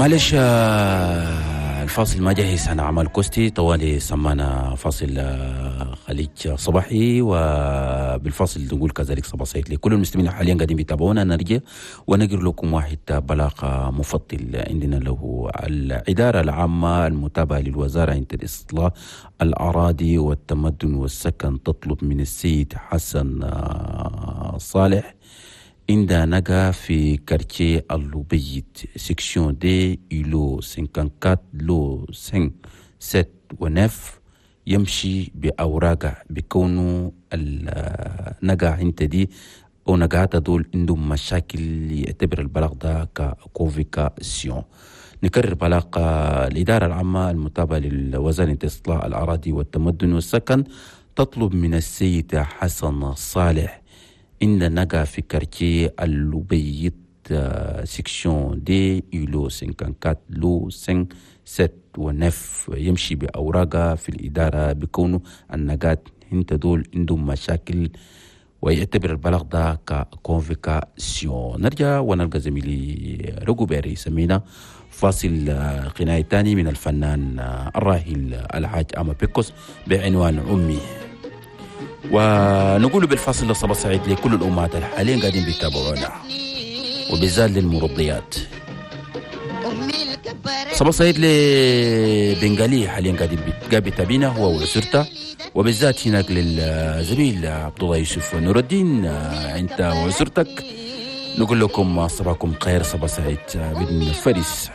معلش الفاصل ما جاهز، انا عمل كوستي طوالي سمانا فاصل خليج صباحي، وبالفاصل نقول كذلك صباح سعيد لكل المسلمين حاليا قاعدين بيتابعونا. نرجع ونقر لكم واحد بلاغ مفضل عندنا له الإدارة العامة المتابعة للوزارة عند الإصلاح الأراضي والتمدن والسكن تطلب من السيد حسن صالح عند نجا في quartier اللوبيت section deux îlot 54 lot 5 7 و 9 يمشي بأوراقه بكونه النجا عند دي أو نجاتا دول عندهم مشاكل، يعتبر البلاغ ده ك convocation. نكرر بلاغ الإدارة العامة المتابعة للوزارة إصلاح الأراضي والتمدن والسكن تطلب من السيد حسن صالح إن نجا في quartier اللوبيت section deux îlot 54 lot 5 7 و 9 يمشي بأوراقه في الإدارة بكونه النقات انت دول عندهم مشاكل، ويعتبر البلاغ ده ك convocation. نرجع ونلقى زميلي رجوبيري سمينا فاصل غنائي تاني من الفنان الراحل الحاج أما بيكوس بعنوان أمي، ونقول بالفاصل لصباح سعيد لكل الأمهات حاليا قاعدين بيتابعونا وبالذات للمرضيات. صباح سعيد لبنغالي حاليا قاعدين بيتابعنا هو وأسرته، وبالذات هناك للزميل عبد الله يوسف نور الدين، انت وأسرتك نقول لكم صباحكم خير، صباح سعيد بن فارس.